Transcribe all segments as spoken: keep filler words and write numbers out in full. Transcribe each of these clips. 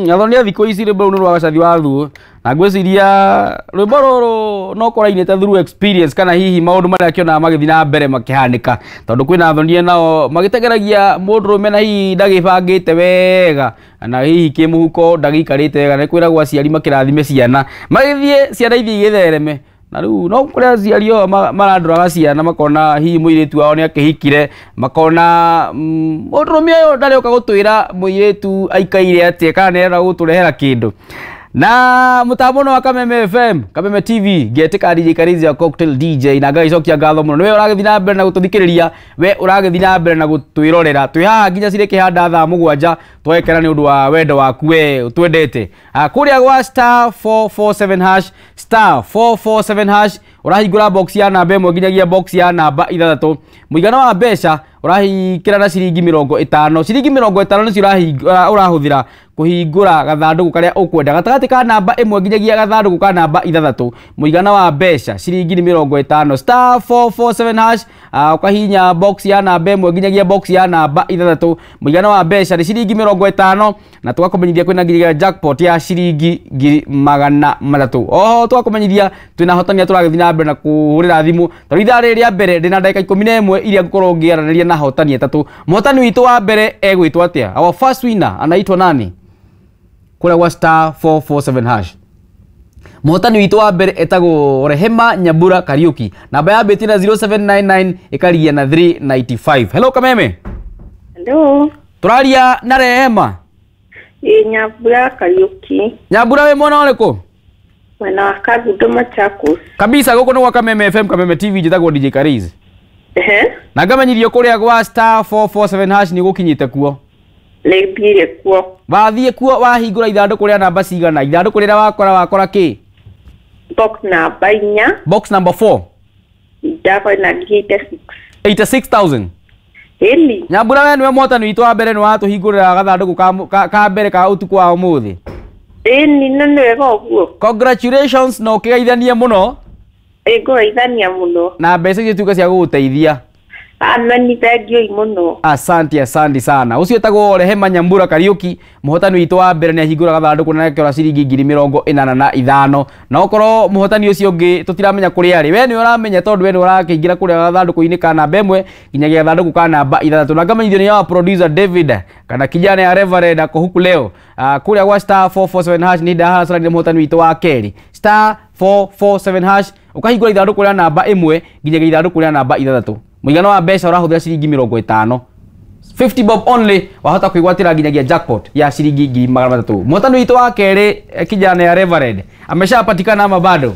Mm, athoni a thikũ ici rwĩmbo rũu nĩ rwa Gacathi wa Thuo na ngwĩciria rwĩmbo rũrũ no kũrainĩte through experience kana hihi maũndũ marĩa akĩonaga magĩthiĩ na mbere makĩhanĩka tondũ kwĩna athonia nao magĩteng'eragia mũndũrũme na hihi ndagĩbangĩte wega na hihi kĩmũhuko ndagĩikarĩte wega nĩ kwĩragwo aciari makĩrathime ciana magĩthiĩ ciana ithiĩ igĩthereme na rĩu no kũrĩ aciari o marandũraga ciana makona hihi mũirĩtu wao nĩ akĩhikire makona mũndũrũme ũyũ ndarĩũka gũtwĩra mũirĩtu aikaire atĩa kana nĩarenda gũtũrehera kĩndũ na mũtambo wa Kameme F M Kameme T V ngetĩka D J Karizi ya Cocktail D J na ngagĩcokia ngatho mũno nĩwe ũragĩthiĩ na mbere na gũtũthikĩrĩria we ũragĩthiĩ na mbere na gũtwĩrorera twĩ haha nginya cirĩ kĩhanda thaa mũgwanja twekera nĩ ũndũ wa wendo waku we ũtwendete kũrĩa gwa star four four seven hash star four four seven hash ũrahingũra box ya namba ĩmwe nginyagia box ya namba ithathatũ mũigana wa mbeca ũrahingĩra na ciringi mĩrongo ĩtano ciringi mĩrongo ĩtano nĩcio ũrahũthĩra kũhingũra gathandũkũ karĩa ũkwenda gatagatĩ ka namba ĩmwe nginyagia gathandũkũ ka namba ithathatũ mũigana wa mbeca ciringi nĩ mĩrongo ĩtano star four four seven hash ũkahihinya box ya namba ĩmwe nginyagia box ya namba ithathatũ mũigana wa mbeca nĩ ciringi mĩrongo ĩtano na tũgakũmenyithia kwĩna nginyagia jackpot ya ciringi ngiri magana matatũ oho tũgakũmenyithia twĩna ahotani tũragĩthiĩ na mbere na kũhũrĩra thimũ tondũ ithaa rĩrĩ rĩa mbere ndĩna ndagĩka ikũmi na ĩmwe iria ngũkorwo ngĩaranĩria na ahotani atatũ mũhotani witũ wa mbere egwĩtwo atĩa our first winner anaitwa nani kũrĩa gwa star four four seven hash mũhotani witũ wa mbere etagwo Rehema Nyambura Kariuki namba ya mbĩtĩ na zero seven nine nine ĩkaria na three ninety five hello Kameme hello tũraria na Rehema ĩ Nyambura Kariuki Nyambura wĩ mwena ũrĩkũ mwena wa Kangundo Machakos kabisa gũkũ nĩ gwa Kameme F M Kameme T V njĩtagwo D J Karizi ehe na ngamenyirio kũrĩa gwa star four four seven hash nĩ gũkinyĩte kuo nĩ kuo wathiĩ kuo wahingũra ithandũkũ rĩa namba cigana ithandũkũ rĩrĩa wakora wakora kĩ box namba inya box number four ndakora na eighty six eighty six thousand ĩni Nyambura we nĩwe mũhotani witũ wa mbere nĩ watũhingũrĩra gathandũkũ ka, ka mbere ka ũtukũ wa ũmũthĩ ĩni no nĩ wega ũguo congratulations na ũkĩgeithanie mũno ĩ ngũgeithania mũno na mbeca icio ituĩke cia gũgũteithia ameni thengiũi mũno asante asante sana ũcio etagwo Rehema Nyambura Kariuki mũhotani witũ wa mbere nĩ ahingũra gathandũkũ na akĩora ciringi ngiri mĩrongo ĩnana na ithano na okorwo mũhotani ũcio ũngĩ tũtiramenya kũrĩa arĩ we nĩwe ũramenya tondũ we nĩwe ũrakĩingĩra kũrĩa gathandũkũ-inĩ ka namba ĩmwe nginyagia gathandũkũ ka namba ithathatũ na ngamenyithio nĩ our producer David kana kijana ya Reverend ako huku leo kũrĩa gwa star four four seven hash nĩ ndahacarire mũhotani witũ wa kerĩ star four four seven hash ũkahingũra ithandũkũ rĩa namba ĩmwe nginyagia ithandũkũ rĩa namba ithathatũ mũigana wa mbeca ũrahũthĩra ciringi mĩrongo ĩtano fifty bob only wahota kwĩgwatĩra nginyagia jackpot ya ciringi ngiri magana matatũ mũhotani witũ wa kerĩ kijana ya Reverend ameshapatikana ama bado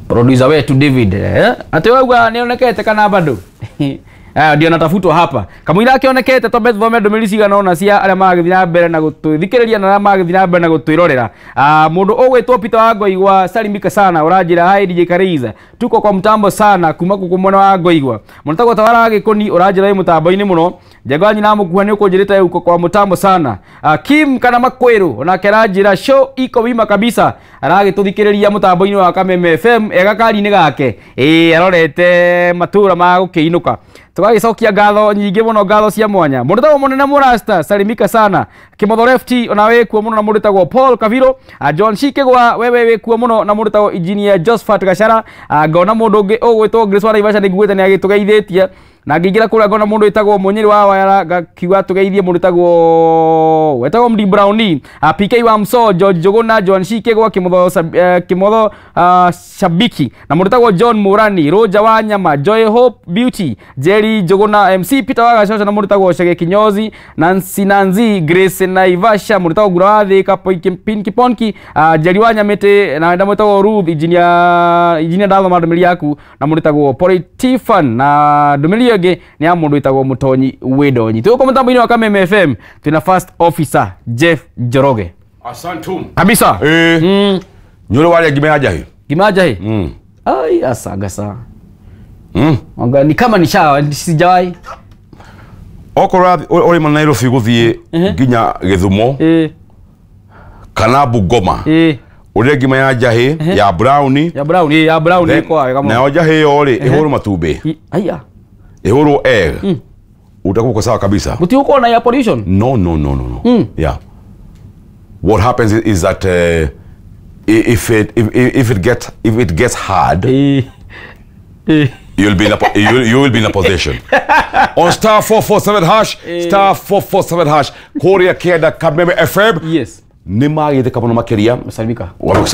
producer wetu David eh atĩ ũrauga nĩonekete kana bado eh ndio natafutwa hapa kamũira akĩonekete twambe tuthome ndũmĩrĩri cigana ũna cia arĩa maragĩthiĩ na mbere na gũtũthikĩrĩria na arĩa maragĩthiĩ na mbere na gũtwĩrorera ah mũndũ ũgwĩtwo Peter wa Ngoigwa salimika sana ũranjĩra hi D J Kariza tuko kwa mtambo sana kuma gũkũ mwena wa Ngoigwa mũndũ Tawara wa Gĩkũni ũranjĩra wĩ mũtambo-inĩ mũno Njego nyina mũkuha nĩ ũkũnjĩrĩte uko kwa mtambo sana uh, Kim kana Makwĩrũ onake aranjĩra show iko wima kabisa aragĩtũthikĩrĩria mũtambo-inĩ wa Kameme F M ega kari-inĩ gake ĩĩ arorete matũra ma gũkĩinũka tũgagĩcokia ngatho nyingĩ mũno ngatho cia mwanya mũndũ tagwo mũnene mũrasta salimika sana Kĩmotho Lefty ona wĩ kuo mũno na mũndũ tagwo Paul Kaviro John Shikigwa wewe wĩ kuo mũno na mũndũ tagwo Engineer Josephat Gachara ngona mũndũ ũngĩ ũgwĩtwo Grace wa Naivasha nĩ nguĩte nĩ agĩtũgeithĩtie na ngĩingĩra kũrĩa ngona mũndũ wĩtagwo Mũnyĩrĩ wa Wayara ngakiuga tũgeithie mũndũ wĩtagwo wetagwo Mdi Browni P K wa Mso George Njũgũna John Shikigwa Kĩmotho Kĩmotho Shabiki na mũndũ wĩtagwo John Murani Roger wa Nyama Joy Hope Beauty Jerry Njũgũna M C Peter wa Gacoca na mũndũ wĩtagwo Chege Kinyozi Nancy Nancy Grace Naivasha mũndũ wĩtagwo Ngura wa Thĩka Pinki Ponki Jerry wa Nyamĩtĩ na mũndũ wĩtagwo Ruth Engineer Engineer ndathoma ndũmĩrĩri yaku na mũndũ wĩtagwo Politifan na ndũmĩrĩri ĩngĩ nĩ ya mũndũ wĩtagwo Mũtonyi Wĩndonyi twĩ gũkũ mũtambo-inĩ wa Kameme F M twĩna first officer Jeff Njoroge asantum kabisa eh mm. Nyore wale ngima ya njahi ngima ya njahi mm. ai asagasa mm. Anga ni kama nishawa sijawahi okorwo uri ma Nairobi guthie nginya Githumo eh kana Bungoma eh uria ngima ya njahi ya brown ya brown ya brown iko wega nayo njahi yo ri ihũrwo matumbĩ aya ihũrwo egg Utakuwa uko sawa kabisa. Gũtigũkorwo na air pollution. No, no, no, no, no. Yeah. What happens is, is that uh, i- if it if, if it gets if it gets hard, Ĩĩ. Ĩĩ. you'll be in a po- you, you will be in a position. On star four four seven hash, star four four seven hash, Korea Kenda Kameme F M. Yes. Nĩ magĩthĩka mũno makĩria. Salimika. Wamekusalimia.